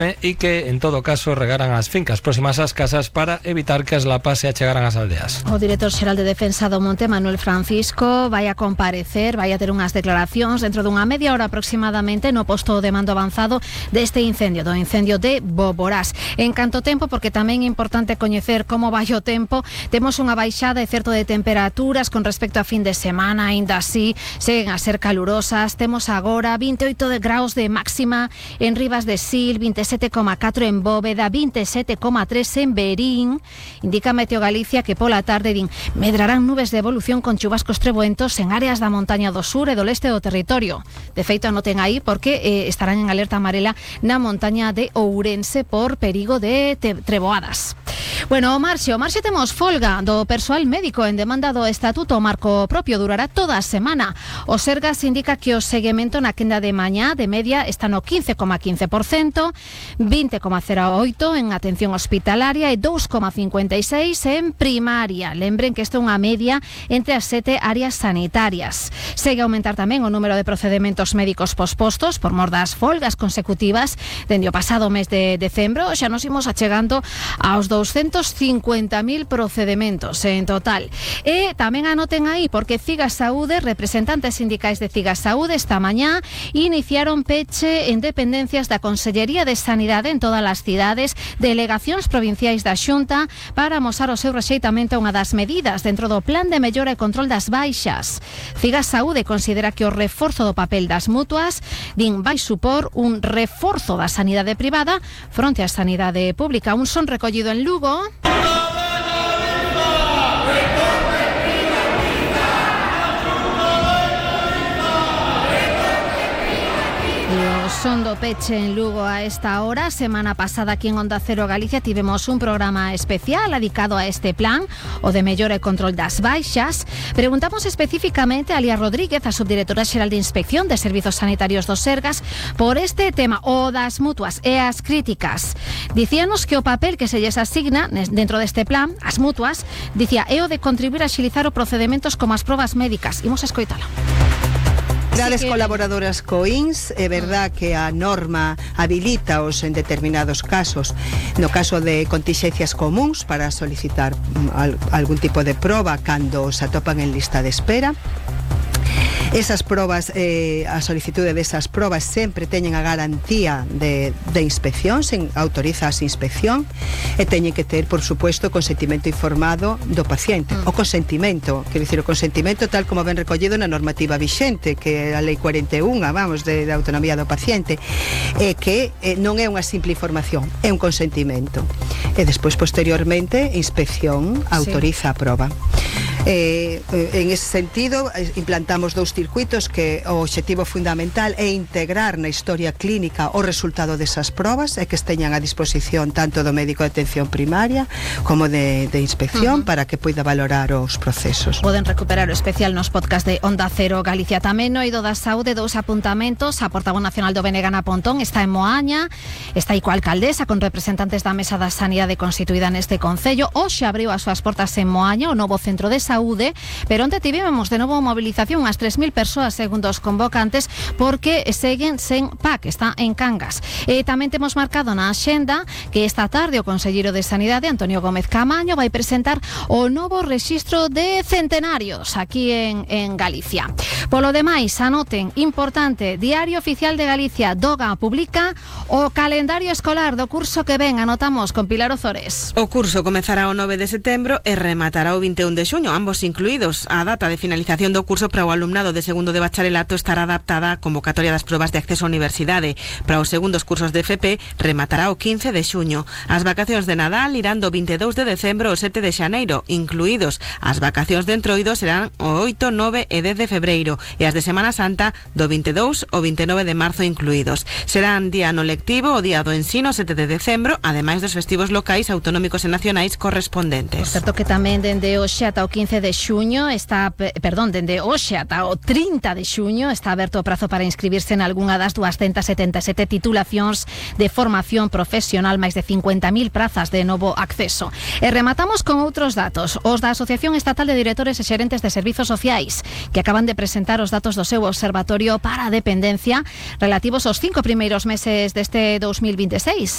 e que, en todo caso, regaran as fincas próximas ás casas para evitar que as lapas se achegaran ás aldeas. O director xeral de Defensa do Monte, Manuel Francisco, vai a comparecer, vai a ter unhas declaracións dentro dunha media hora aproximadamente no posto de mando avanzado deste incendio, do incendio de Boborás. En canto tempo, porque tamén é importante coñecer como vai o tempo, temos unha baixada, é certo, de temperaturas con respecto a fin de semana, aínda así seguen a ser calurosas. Temos agora 28 graus de máxima en Rivas de Sil, 27,4 en Bóveda, 27,3 en Berín. Indica Meteo Galicia que pola tarde medrarán nubes de evolución con chubascos treboentos en áreas da montaña do sur e do leste do territorio. De feito, anoten aí porque estarán en alerta amarela na montaña de Ourense por perigo de treboadas. Bueno, o Marxe temos folga do persoal médico en demanda do Estatuto. O marco propio durará toda a semana. O Sergas indica que o seguimento na quenda de mañá de media está no 15,15%, 20,08 en atención hospitalaria e 2,56 en primaria. Lembren que isto é unha media entre as 7 áreas sanitarias. Segue a aumentar tamén o número de procedementos médicos pospostos por mor das folgas consecutivas dende o pasado mes de decembro. Xa nos imos achegando aos 250.000 procedementos en total. E tamén anoten aí porque Cigas Saúde, representantes sindicais de Cigas Saúde, esta mañá iniciaron peche en dependencias da Consellería de Sanidade en todas as cidades, delegacións provinciais da Xunta, para amosar o seu rexeitamento a unha das medidas dentro do plan de mellora e control das baixas. Cigas Saúde considera que o reforzo do papel das mutuas vai supor un reforzo da sanidade privada fronte á sanidade pública. Un son recollido en Lugo. Son do peche en Lugo a esta hora. Semana pasada aquí en Onda Cero Galicia tivemos un programa especial dedicado a este plan, o de mellora e control das baixas. Preguntamos especificamente a Lía Rodríguez, a subdirectora xeral de Inspección de Servizos Sanitarios do Sergas, por este tema, o das mutuas e as críticas. Dicíanos que o papel que se lles asigna dentro deste plan, as mutuas, dicía, é o de contribuir a axilizar os procedementos como as probas médicas. Imos a escoitala. As colaboradoras co INS, é verdad que a norma habilitaos en determinados casos, no caso de contingencias comuns, para solicitar algún tipo de proba cando se atopan en lista de espera. Esas probas, a solicitude desas probas sempre teñen a garantía de inspección, se autoriza a inspección, e teñen que ter, por supuesto, consentimento informado do paciente. O consentimento, quero dicir, o consentimento tal como ben recollido na normativa vixente, que é a Lei 41, de autonomía do paciente, que non é unha simple información, é un consentimento. E despois, posteriormente, inspección autoriza a proba. En ese sentido, implantamos 2 circuitos que o obxectivo fundamental é integrar na historia clínica o resultado desas probas e que esteñan a disposición tanto do médico de atención primaria como de inspección para que poida valorar os procesos. Poden recuperar o especial nos podcast de Onda Cero Galicia. Tamén no eido da saúde, 2 apuntamentos. A portavoz nacional do BNG Ana Pontón está en Moaña, está aí coa alcaldesa con representantes da Mesa da Sanidade constituída neste concello. Hoxe abriu as súas portas en Moaña o novo centro de saúde, pero onde tivemos de novo movilización as 3.000 persoas segundo os convocantes porque seguen sen PAC, está en Cangas. Tamén temos marcado na axenda que esta tarde o conselleiro de Sanidade, Antonio Gómez Camaño, vai presentar o novo rexistro de centenarios aquí en Galicia. Polo demais, anoten, importante, Diario Oficial de Galicia, Doga publica o calendario escolar do curso que ven. Anotamos con Pilar Ozores. O curso comezará o 9 de setembro e rematará o 21 de xuño, ambos incluídos. A data de finalización do curso para o alumnado de segundo de bacharelato estará adaptada á convocatoria das probas de acceso á universidade. Para os segundos cursos de FP rematará o 15 de xuño. As vacacións de Nadal irán do 22 de decembro ao 7 de xaneiro, incluídos. As vacacións de Entroido serán o 8, 9 e 10 de febreiro e as de Semana Santa do 22 ao 29 de marzo incluídos. Serán día no lectivo o día do ensino 7 de decembro, ademais dos festivos locais, autonómicos e nacionais correspondentes. Por certo que tamén dende hoxe ata o 15 de xuño dende hoxe ata o 30 de xuño está aberto o prazo para inscribirse en algunha das 277 titulacións de formación profesional, máis de 50.000 prazas de novo acceso. E rematamos con outros datos, os da Asociación Estatal de Directores e Xerentes de Servizos Sociais, que acaban de presentar os datos do seu observatorio para a dependencia relativos aos 5 primeiros meses deste 2026.